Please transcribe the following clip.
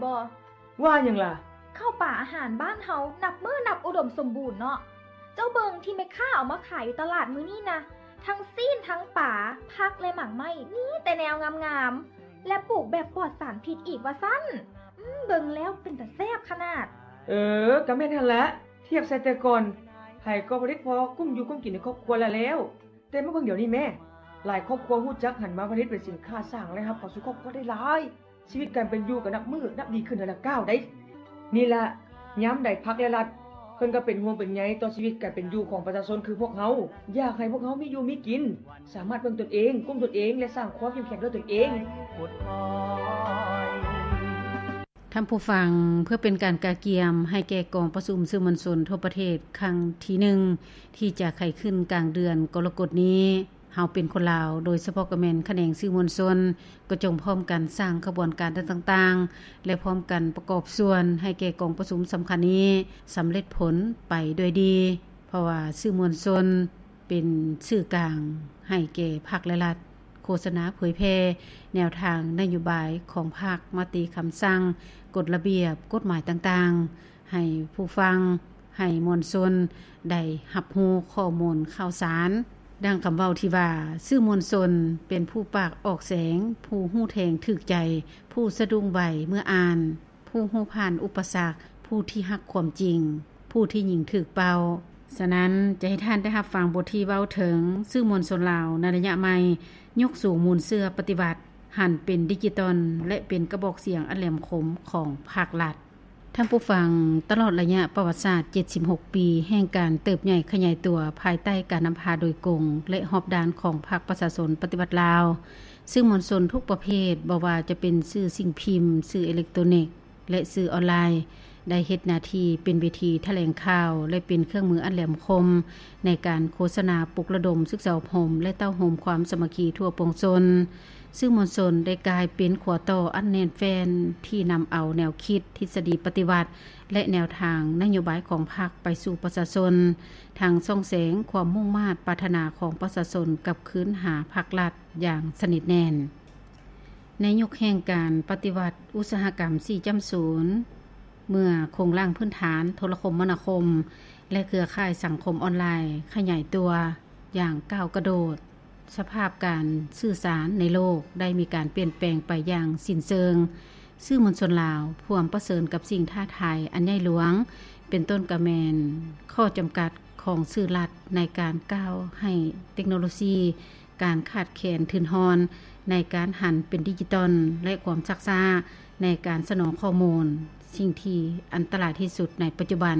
ບໍ່? ວ່າຫຍັງລະ? ເຂົ້າປາອາຫານບ້ານເຮົານັບມື້ນັບອຸດົມສົມບູນເນາະ. ເຈົ້າເບິ່ງທີ່ແມ່ຄ້າເອົາມາຂາຍຢູ່ຕະຫຼາດມື້ນີ້ນະ, ທັງຊີ້ນ, ທັງປາ, ຜັກ ແລະ ໝາກໄມ້, ມີແຕ່ແນວງາມໆ ແລະ ປູກແບບປອດສານພິດອີກວ່າຊັ້ນ. ອືມ, ເບິ່ງແລ້ວເປັນຕາແຊບຂະໜາດ. ເອີ, ກະແມ່ນຫັ້ນລະ. ທຽບໃສ່ແຕ່ກ່ອນ, ໃຜກໍຜະລິດພໍກຸ້ມຢູ່ກຸ້ມກິນໃນຄອບຄົວລະແລ້ວ. ແຕ່ມາເບິ່ງດຽວນີ້ແມ້, ຫຼາຍຄອບຄົວຮູ້ຈັກຫັນມາຜະລິດເປັນສິນຄ້າ, ສ້າງລາຍຮັບເຂົ້າສູ່ຄອບຄົວໄດ້ຫຼາຍ. ຊີວິດການເປັນຢູ່ກໍນັບມື້ນັບດີຂຶ້ນເທື່ອລະກ້າວໃດ໋. ນີ້ລະ, ຍາມໃດພັກ ແລະ ລັດ ເພິ່ນກໍເປັນຫ່ວງເປັນໃຍຕໍ່ຊີວິດການເປັນຢູ່ຂອງປະຊາຊົນຄືພວກເຮົາ, ຢາກໃຫ້ພວກເຮົາມີຢູ່ມີກິນ, ສາມາດເບິ່ງຕົນເອງ, ກຸ້ມຕົນເອງ ແລະ ສ້າງຄວາມເຂັ້ມແຂງດ້ວຍຕົນເອງ. ທ່ານຜູ້ຟັງ, ເພື່ອເປັນການກະກຽມໃຫ້ແກ່ກອງປະຊຸມສື່ມວນຊົນທົ່ວປະເທດຄັ້ງທີໜຶ່ງ ທີ່ຈະໄຂຂຶ້ນກາງເດືອນກໍລະກົດນີ້, ເຮົາເປັນຄົນລາວ, ໂດຍສະເພາະກໍແມ່ນຂະແໜງສື່ມວນຊົນ, ກໍຈົ່ງພ້ອມກັນສ້າງຂະບວນການຕ່າງໆ ແລະ ພ້ອມກັນປະກອບສ່ວນໃຫ້ແກ່ກອງປະຊຸມສຳຄັນນີ້ສຳເລັດຜົນໄປດ້ວຍດີ, ເພາະວ່າສື່ມວນຊົນເປັນສື່ກາງໃຫ້ແກ່ພັກ ແລະ ລັດ ໂຄສະນາເຜີຍແຜ່ແນວທາງນະໂຍບາຍຂອງພັກ, ມະຕິຄຳສັ່ງ, ກົດລະບຽບ, ກົດໝາຍຕ່າງໆ ໃຫ້ຜູ້ຟັງ, ໃຫ້ມວນຊົນໄດ້ຮັບຮູ້ຂໍ້ມູນຂ່າວສານ. ດັ່ງຄຳເວົ້າທີ່ວ່າ, ສື່ມວນຊົນເປັນຜູ້ປາກອອກແສງ, ຜູ້ຮູ້ແທງຖືກໃຈ, ຜູ້ສະດຸ້ງໄວເມື່ອອ່ານ, ຜູ້ຮູ້ຜ່ານອຸປະສັກ, ຜູ້ທີ່ຮັກຄວາມຈິງ, ຜູ້ທີ່ຍິງຖືກເປົ້າ. ສະນັ້ນ, ຈະໃຫ້ທ່ານໄດ້ຮັບຟັງບົດທີ່ເວົ້າເຖິງສື່ມວນຊົນລາວໃນໄລຍະໃໝ່, ຍົກສູງມູນເຊື້ອປະຕິວັດ, ຫັນເປັນດິຈິຕອນ ແລະ ເປັນກະບອກສຽງອັນແຫຼມຄົມຂອງພາກລັດ. ທ່ານຜູ້ຟັງ, ຕະຫຼອດໄລຍະປະຫວັດສາດເຈັດສິບຫົກປີແຫ່ງການເຕີບໃຫຍ່ຂະຫຍາຍຕົວພາຍໃຕ້ການນຳພາໂດຍກົງ ແລະ ຮອບດ້ານຂອງພັກປະຊາຊົນປະຕິວັດລາວ, ສື່ມວນຊົນທຸກປະເພດ, ບໍ່ວ່າຈະເປັນສື່ສິ່ງພິມ, ສື່ເອເລັກໂຕນິກ ແລະ ສື່ອອນລາຍ, ໄດ້ເຮັດໜ້າທີ່ເປັນເວທີຖະແຫຼງຂ່າວ ແລະ ເປັນເຄື່ອງມືອັນແຫຼມຄົມໃນການໂຄສະນາ, ປຸກລະດົມ, ສຶກສາອົບຮົມ ແລະ ເຕົ້າໂຮມຄວາມສາມັກຄີທົ່ວປວງຊົນ. ສື່ມວນຊົນໄດ້ກາຍເປັນຂົວຕໍ່ອັນແໜ້ນແຟ້ນທີ່ນຳເອົາແນວຄິດ, ທິດສະດີປະຕິວັດ ແລະ ແນວທາງນະໂຍບາຍຂອງພັກໄປສູ່ປະຊາຊົນ, ທັງສ່ອງແສງຄວາມມຸ່ງມາດປາດຖະໜາຂອງປະຊາຊົນກັບຄືນຫາພັກລັດຢ່າງສະໜິດແໜ້ນ. ໃນຍຸກແຫ່ງການປະຕິວັດອຸດສາຫະກຳສີ່ຈ້ຳສູນ, ເມື່ອໂຄງລ່າງພື້ນຖານໂທລະຄົມມະນາຄົມ ແລະ ເຄືອຂ່າຍສັງຄົມອອນລາຍຂະຫຍາຍຕົວຢ່າງກ້າວກະໂດດ, ສະພາບການສື່ສານໃນໂລກໄດ້ມີການປ່ຽນແປງໄປຢ່າງສິ້ນເຊີງ. ສື່ມວນຊົນລາວພວມປະເຊີນກັບສິ່ງທ້າທາຍອັນໃຫຍ່ຫຼວງ, ເປັນຕົ້ນກະແມ່ນຂໍ້ຈຳກັດຂອງສື່ລັດໃນການກ້າວໃຫ້ເຕັກໂນໂລຊີ, ການຂາດແຄນທຶນຮອນໃນການຫັນເປັນດິຈິຕອນ ແລະ ຄວາມຊັກຊ້າໃນການສະໜອງຂໍ້ມູນ, ສິ່ງທີ່ອັນຕະລາຍທີ່ສຸດໃນປັດຈຸບັນ.